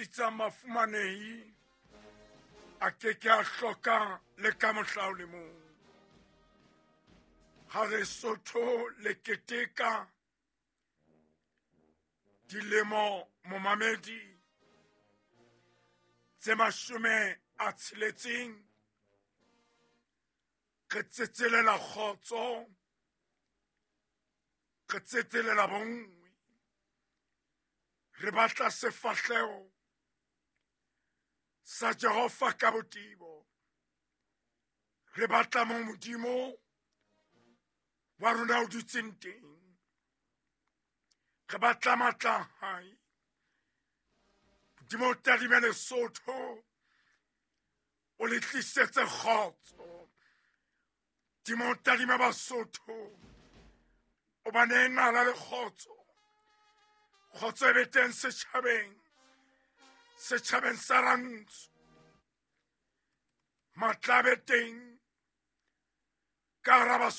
sitsang bafumanehi a ke ke a hloka le ka mohla o le mong. Ha Lesotho le keteka dilemo momamedi tse 60, re tsetselela kgotso, re tsetselela bonngwe, re batla sefahleho sa Jehova ka botebo, re batla mo Modimo wa rona o dutseng teng, re batla matla a hae. Modimo o tadime Lesotho, o le tlisetse kgotso. Modimo o tadime Basotho, o ba nee nala le kgotso. Kgotso e be teng setjhabeng, setjhabeng sa Rantsho. Matla a be teng ka hara Basotho.